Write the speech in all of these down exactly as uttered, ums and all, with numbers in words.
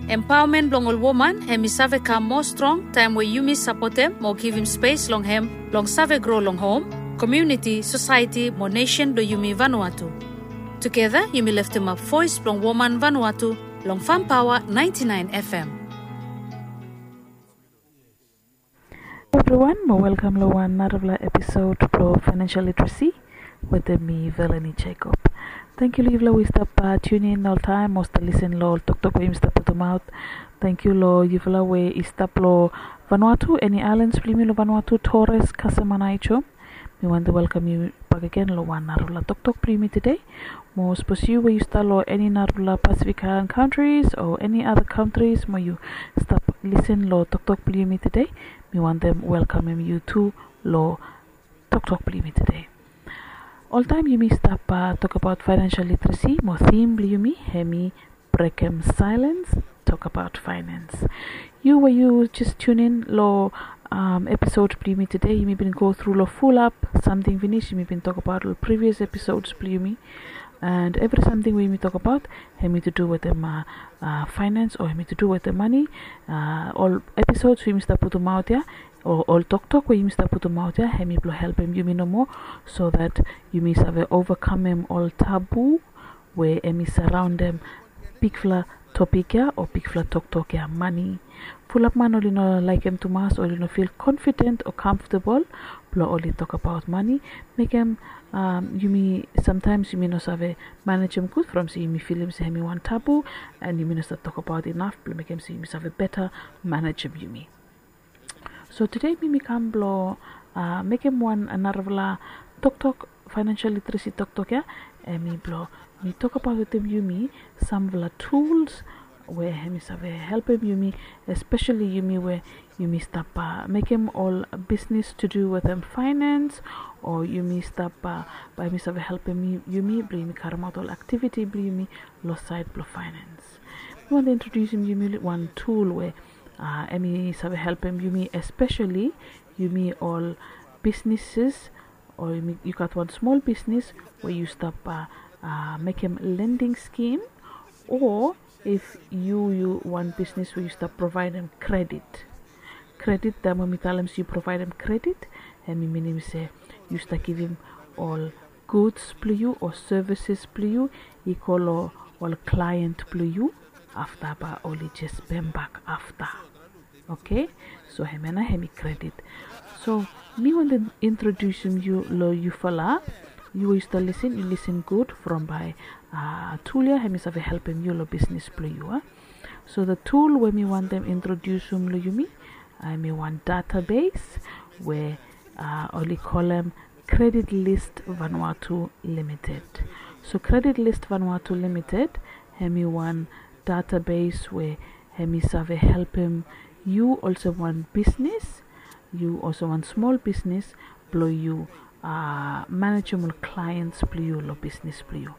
Empaomen blong ol woman hem i save kam moa strong taem we yumi sapotem mo givim spes long hem blong save gro long hom, komuniti, sosaeti mo nesen blong yumi Vanuatu. Tugeta yumi leftemap voes blong woman Vanuatu long Fam Paoa naenti naen FM. Evriwan mo welkam long wan narafala episod blong Financial Literacy wetem mi, Velani Jacob. Tangkiu long yufala we i stap tiunin oltaem mo stap lisin long ol toktok we yumi stap putumaot. Tangkiu long yufala we i stap long Vanuatu, eni aelans blong yumi long Vanuatu, Torres, Kasem, Aneityum. Mi wantem welkam yu bakegen long wan narafala toktok blong yumi tede. Mo sapos yu we yu stap long eni narafala Pacific Island countries o eni other countries mo yu stap lisin long toktok blong yumi tede, mi wantem welkamem yu tu long toktok blong yumi tede. Oltaem yumi stap tokbaot financial literacy mo theme blong yumi hem i brekem silence, tokbaot finance. Yu we yu jes tiunin long episod blong yumi tede, yumi bin go tru long fulap samting finis. Yumi bin tokbaot long previous episods blong yumi, and evri samting we yumi tokbaot hem i to do wetem finance o hem i to do wetem mane. Ol episods we yumi stap putumaot ya o ol toktok we yumi stap putumaot ya hem i blong helpem yumi nomo, so that yumi save ovakamem ol tabu we hem i saraondem bigfala topik ya o bigfala toktok ya, mane. Fulap man oli no laekem tumas, oli no fil konfiden o kamfotabol blong oli tokbaot mane. Mekem yumi, samtaems yumi no save manejem gud from se yumi filim se hem i wan tabu, and yumi no save tokbaot inaf blong mekem se yumi save beta manejem yumi. So tede mi mi kam blong mekem wan narafala toktok, financial literacy toktok ya, hem i blong mi tokbaot wetem yumi samfala tools we hem i save helpem yumi, espeseli yumi we yumi stap mekem ol bisnis to do wetem finance, o yumi stap, bae hem i save helpem yumi blong yumi karemaot ol aktiviti blong yumi long saed blong finance. Mi wantem introdiusim yumi wan tool we hem i save helpem yumi, espeseli yumi ol bisnises, o yu gat wan smol bisnis we yu stap mekem lending skim, o if yu yu wan bisnis we yu stap provaedem kredit. Kredit, taem we mi talem se yu provaedem kredit, hem i minim se yu stap givim ol guds blong yu o sevises blong yu i go long ol klaen blong yu, afta bae oli jes pembak afta. Oke, so hemia nao hem i kredit. So mi wantem introdiusim yu long yufala, yu we yu stap lisin, yu lisin gud, from bae tul ya hem i save helpem yu long bisnis blong yu. So the tool we mi wantem introdiusim long yumi hem i wan database we oli kolem Credit List Vanuatu Limited. So Credit List Vanuatu Limited hem i wan database we hem i save helpem yu olsem wan bisnis, yu olsem wan smol bisnis, blong yu manejem ol klaens blong yu long bisnis blong yu.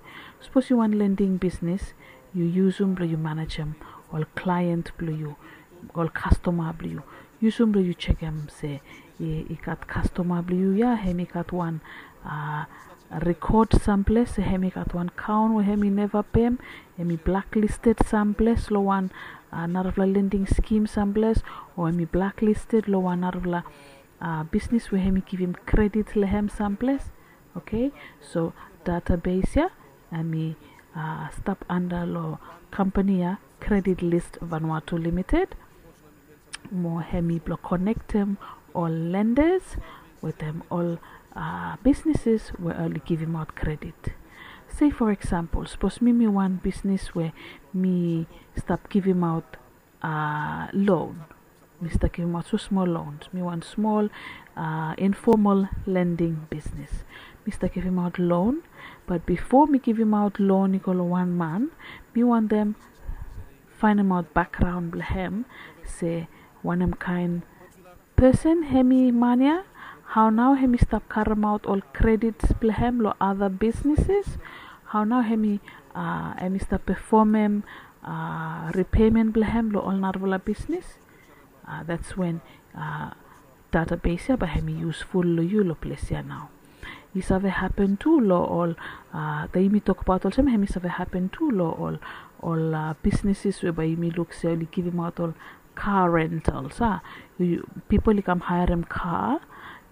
Sapos yu wan lending bisnis, yu yusum blong yu manejem ol klaen blong yu, ol kastoma blong yu. Yusum blong yu jekem se i gat kastoma blong yu ya hem i gat wan rekod samples se hem i gat wan kaon we hem i neva pem, hem i blaklisted samples long wan narafala lending skim samples, o hem i blaklisted long wan narafala bisnis we hem i givim kredit long hem samples. Oke, so database ya hem i stap anda long kampani ya, Credit List Vanuatu Limited. Mo hem i blong konektem ol lendas wetem ol bisnises we oli givimaot kredit. Se fo eksampol, sapos mi mi wan bisnis we mi stap givimaot loan. Mi stap givimaot smosmol loans. Mi wan smol informal lending bisnis. Mi stap givimaot loan, bat bifo mi givimaot loan i go long wan man, mi wantem faenemaot bakgraon blong hem, se wanem kaen pesen hem i man ya, hao nao hem i stap karemaot ol kredit blong hem long other businesses, hao nao hem i hem i stap pefomem repayment blong hem long ol narafala bisnis. That's when database ya bae hem i yusful long yu long ples ya nao. I save hapen tu long ol, taem yumi tokbaot olsem, hem i save hapen tu long ol ol businesses we bae yumi luk se oli givimaot ol car rentals, a. Pipol i kam haerem car,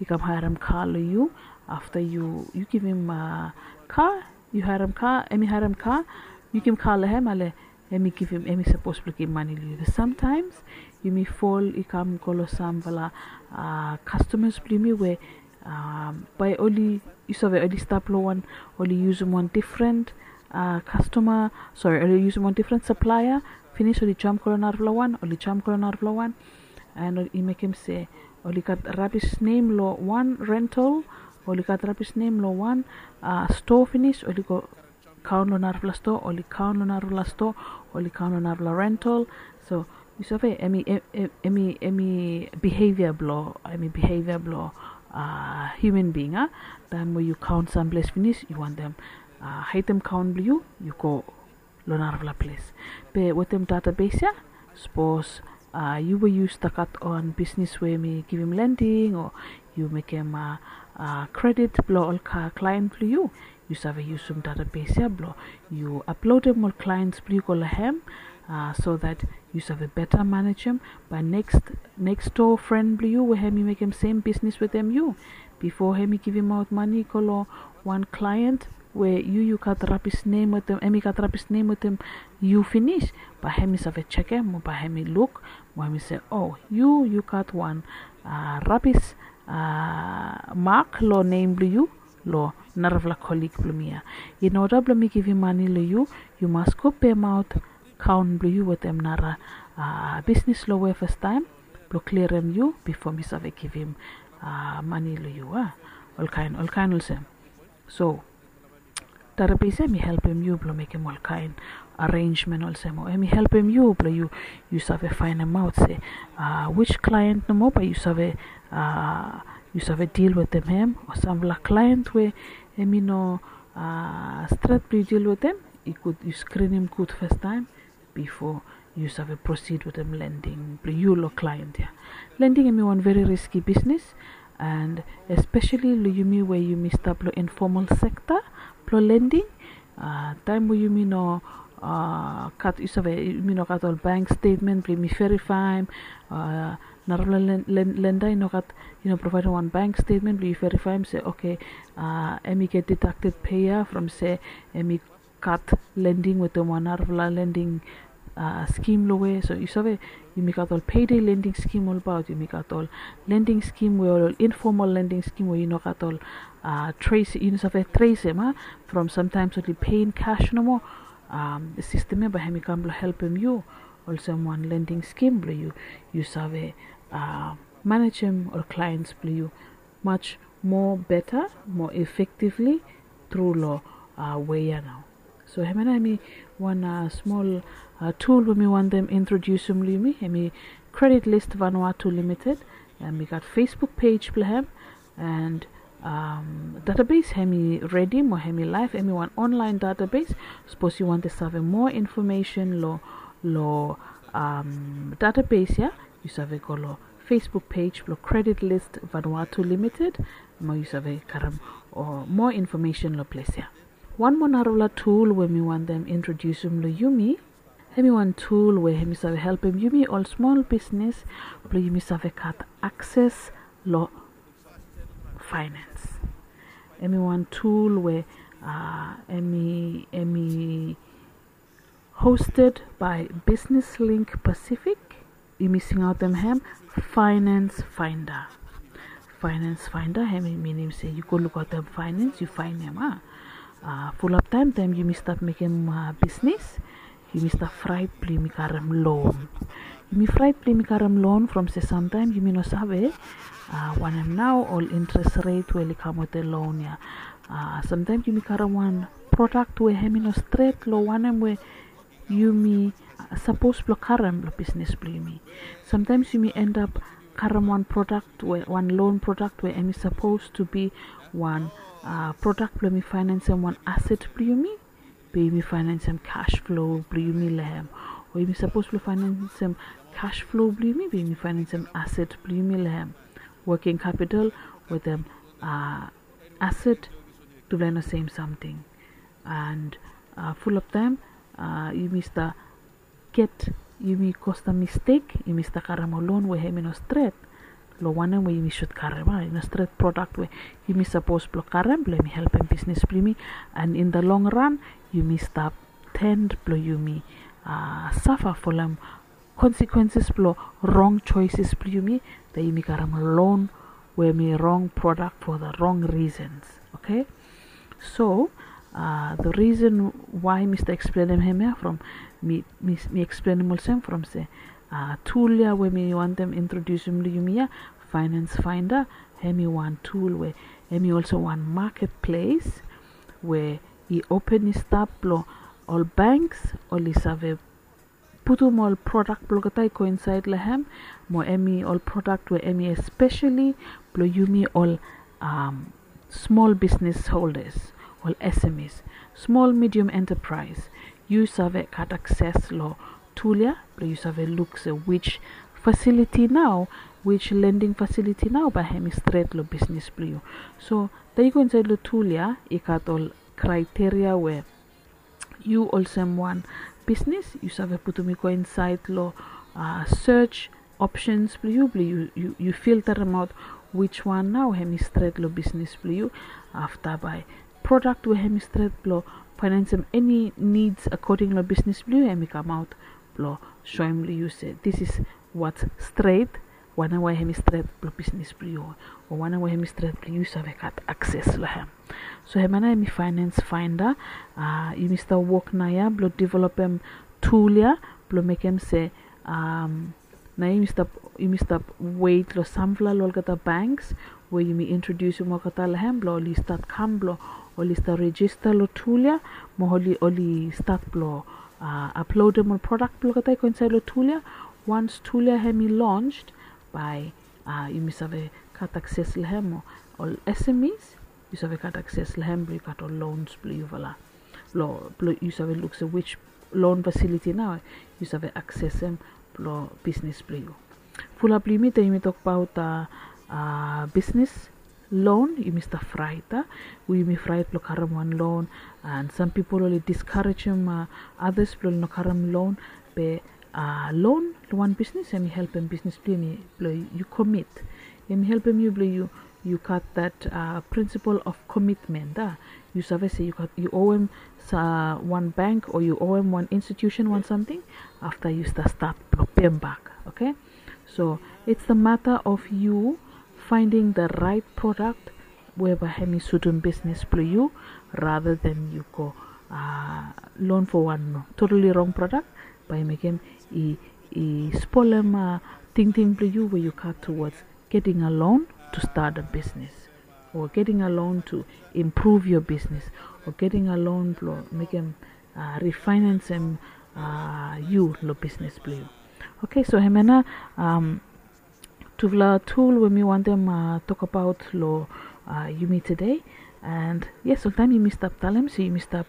i kam haerem car long yu. Afta yu yu givim car, yu haerem car, hem i haerem car, yu givim car long hem, ale hem i givim, hem i sapos blong givim mane long yu. Samtaems yumi fol i kam go long samfala kastomas blong yumi we bae oli, yu save, oli stap long wan, oli yusum wan difren kastoma, sori, oli yusum wan difren saplaea. Finis oli jam go long narafala wan, oli jam go long narafala wan. An i mekem se oli gat rabis nem long wan rental, oli gat rabis nem long wan stoa finis, oli go kaon long narafala stoa, oli kaon long narafala stoa, oli kaon long narafala rental. So yu save, hem i, hem i, hem i bihevia blong, hem i bihevia blong hiuman bing, a. Taem we yu kaon samples finis, yu wantem haedem kaon blong yu, yu go long narafala ples. Be wetem database ya, sapos yu we yu stap gat wan bisnis we hem i givim lending o yu mekem kredit blong ol klaen blong yu, yu save yusum database ya blong yu aplodem ol klaens blong yu go long hem, so that yu save beta manejem. Bae neks, neks doa fren blong yu we hem i mekem sem bisnis wetem yu, bifo hem i givimaot mane go long wan klaen we yu, yu gat rabis nem wetem, hem i gat rabis nem wetem yu finis, bae hem i save jekem, o bae hem i luk, mo hem i se, o, yu, yu gat wan rabis mak long nem blong yu long narafala kolig blong mi ya. In oda blong mi givim mane long yu, yu mas go pemaot kaon blong yu wetem nara bisnis long we fastaem blong klirim yu bifo mi save givim mane long yu, a. Olkaen, olkaen olsem. So database ya hem i helpem yu blong mekem olkaen arenjmen olsem, o hem i helpem yu blong yu, yu save faenemaot se which klaen nomo bae yu save, yu save dil wetem hem, o samfala klaen we hem i no stret blong yu dil wetem, i gud yu skrinim gud fastaem bifo yu save prosid wetem lending blong yu long klaen ya. Lending hem i wan veri riski bisnis, and espeseli long yumi we yumi stap long informal sekta blong lending, taem we yumi no gat, yu save, yumi no gat ol bank stetmen blong yumi verifaem, narafala lenda i no gat, i no provaedem wan bank stetmen blong yu verifaem se, oke, hem i get deducted pei ya from se hem i gat lending wetem wan narafala lending skim long we. So yu save, yumi gat ol payday lending skim olbaot, yumi gat ol lending skim we ol informal lending skim we yu no gat ol tres, yu no save tresem, a, from samtaems oli pei in cash nomo. Sistem ya bae hem i kam blong helpem yu olsem wan lending skim blong yu, yu save manejem ol klaens blong yu much more better, more effectively tru long wei ya nao. So hemia nao hem i wan smol tul we mi wantem introdiusim long yumi, hem i Credit List Vanuatu Limited. Hem i gat Facebook pej blong hem, and database hem i redi mo hem i laef, hem i wan online database. Sapos yu wantem save moa infomesen long, long database ya, yu save go long Facebook pej blong Credit List Vanuatu Limited mo yu save karem moa infomesen long ples ya. Wan moa narafala tul we mi wantem introdiusim long yumi, hem i wan tul we hem i save helpem yumi ol smol bisnis blong yumi save gat akses long faenens. Hem i wan tul we hem i, hem i hosted by Business Link Pacific. Yumi singaotem hem Finance Finder. Finance Finder hem i minim se yu go lukaotem faenens, yu faenem, a. Fulap taem, taem yumi stap mekem bisnis, yumi stap fraet blong yumi karem loan. Yumi fraet blong yumi karem loan from se samtaem yumi no save wanem nao ol interes ret we oli kam wetem loan ya. Samtaem yumi karem wan prodak we hem i no stret long wanem we yumi sapos blong karem long bisnis blong yumi. Samtaem yumi endap karem wan prodak we, wan loan prodak we hem i sapos tu bi wan prodak blong yumi faenensem wan aset blong yumi, be yumi faenensem cash flow blong yumi long hem. O yumi sapos blong faenensem cash flow blong yumi, be yumi faenensem aset blong yumi long hem. Working capital wetem Asset, tufala i no sem samting. And uh, full of time uh, yumi stap get yumi kostam mistek, yumi stap karem ol loan we hem i no stret long wanem we yumi should karem, ah, i no stret product we yumi sapos blong karem blong yumi helpem bisnis blong yumi. And in the long run yumi stap tend blong yumi uh, safa folem consequences blong wrong choices blong yumi, that yumi karem loan we mi wrong product for the wrong reasons. Okay, so uh, the reason why mi stap eksplenem hem ya from mi mi, mi eksplenem olsem from se uh, tool ya we mi wantem introdusim long yumi ya, Finance Finder, hem i wan tool we hem i also wan marketplace we i open i stap long ol banks oli save putum ol product blong olgeta i go inside long hem, mo hem i ol product we hem i especially blong yumi ol um, small business holders, ol S M Es, small medium enterprise. Yu save gat access long tool ya blong yu save luk se which facility nao, which lending facility nao bae hem i stret long bisnis blong yu. So taem yu go inside long tool ya i gat ol criteria we yu olsem wan bisnis yu save putum i go inside long uh, search options blong yu blong yu, yu, yu filterem aot which one nao hem i stret long bisnis blong yu. Afta bae product we hem i stret blong fainensem eni needs according long bisnis blong yu hem i kamaot blong soem long yu se this is what's straight, wanem we hem i stret blong bisnis blong yu, o wanem we hem i stret blong yu save gat akses long hem. So hemia nao hem i Finance Finder. Uh, yumi stap wok nao ya blong developem tool ya blong mekem se um, nao yumi stap yumi stap wet long samfala long olgeta banks we yumi introdusim olgeta long hem blong oli stat kam blong oli stap rejista long tool ya, mo oli oli stat blong uh, aplodem ol product blong olgeta i go inside long tool ya. Once tool ya hem i launched, bae uh, yumi save gat akses long hem, mo ol S M Es yu save gat akses long hem blong yu gat ol loans blong yufala. Blong blong yu save luk se which loan facility nao yu save aksesem blong bisnis blong yu. Fulap blong yumi taem yumi tokbaot uh, uh, bisnis loan yumi stap fraet, a, we yumi fraet blong karem wan loan. And sam pipol oli diskarejem uh, others blong oli no karem loan. Be uh, loan long wan bisnis hem i helpem bisnis blong yumi blong yu commit. Hem i helpem yu blong yu yu gat that uh, principle of commitment, a. Yu save se yu gat yu owem sa wan bank o yu owem wan institution wan samting, afta yu stap stat blong pem bak. Okay, so it's the matter of you finding the right product we bae hem i sutum bisnis blong yu, rather than yu go uh, loan for wan totally wrong product, bae i mekem i i spolem uh, tingting blong yu we yu gat towards getting a loan to start a business, or getting a loan to improve your business, or getting a loan blong mekem uh, refinancem uh, yu long bisnis blong yu. Okay, so hemia nao um, tufala tool we mi wantem uh, tokbaot long uh, yumi today. And yes, oltaem yumi stap talem se yumi stap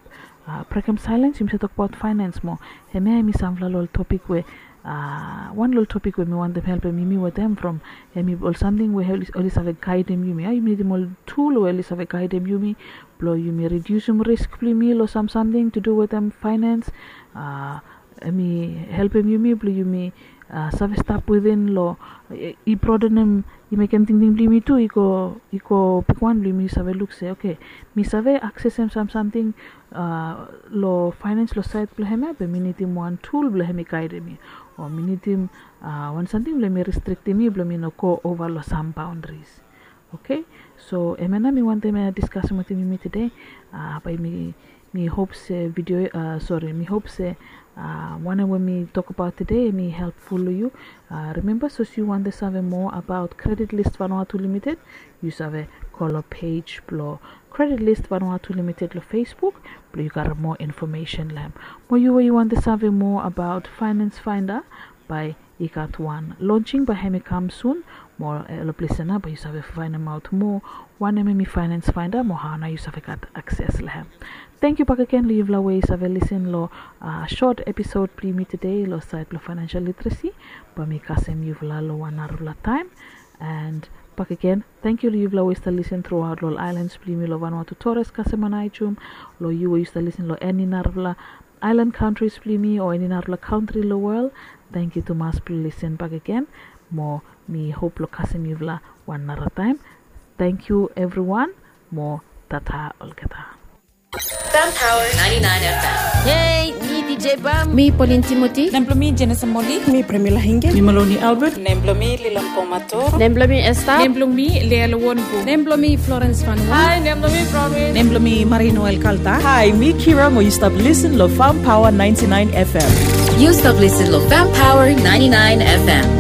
uh, brekem silence, yumi stap tokbaot finance moa. Hemia hemi samfala long ol topik we uh, wan long ol topik we mi wantem helpem yumi wetem from hemi ol samting we oli save gaedem yumi, a. Yumi nidim ol tool we oli save gaedem yumi blong yumi rediusim risk blong yumi long sam samting to do wetem finance. Uh, hemi helpem yumi blong yumi uh, save stap within long i broadenem, i mekem tingting blong yumi tu i go i go bigwan blong yumi save luk se, okay, mi save aksesem sam samting uh, long finance long saed blong hemia, be mi nidim wan tool blong hemi gaedem mi, o mi nidim uh, wan samting blong hemi restriktem mi blong mi no go ova long sam boundaries. Okay, so hemia nao mi wantem uh, diskasim wetem yumi tede. Uh, bae mi mi hop se video uh, sori, mi hop se uh, wanem we mi tokbaot tede hemi helpful long yu. Uh, remember, sapos yu wantem save moa abaot Credit List Vanuatu Limited, yu save go long page blong Credit List Vanuatu Limited long Facebook blong yu gat moa infomesen long hem. Mo yu we yu wantem save moa abaot Finance Finder, bae i gat wan launching bae hemi kam sun. Mo long ples ya nao bae yu save faenemaot moa wanem hemi Finance Finder mo hao nao yu save gat akses long hem. Tangkiu bakegen long yufala we i save lisin long uh, short episode blong yumi tede long saed blong financial literacy. Bae mi kasem yufala long wan narafala taem. And bakegen. Tangkiu long yufala we i stap lisin truaot long ol aelan blong yumi long Vanuatu, Torres, Kasem, Aneityum. Long yu we yu stap lisin long eni narafala aelan kantri blong yumi o eni narafala kantri long wol, tangkiu tumas blong lisin bakegen. Mo mi hop long kasem yufala wan narataem. Tangkiu evriwan. Mo tata olgeta. Fam Power ninety-nine F M. Hei, mi D J Bam. Mi Pauline Timothy. Nem blong mi Jenesa Moli. Mi Premila Hinge. Mi Maloni Albert. Nem blong mi Lilan Pomato. Nem blong mi Esther. Nem blong mi Lea Lowonbu. Nem blong mi Florence Fanua. Hai, nem blong mi Promise. Nem blong mi Marie Noel Kalta. Hai, mi Kira, mo yu stap lisin long Fam Power ninety-nine F M. Yu stap lisin long Fam Power ninety-nine F M.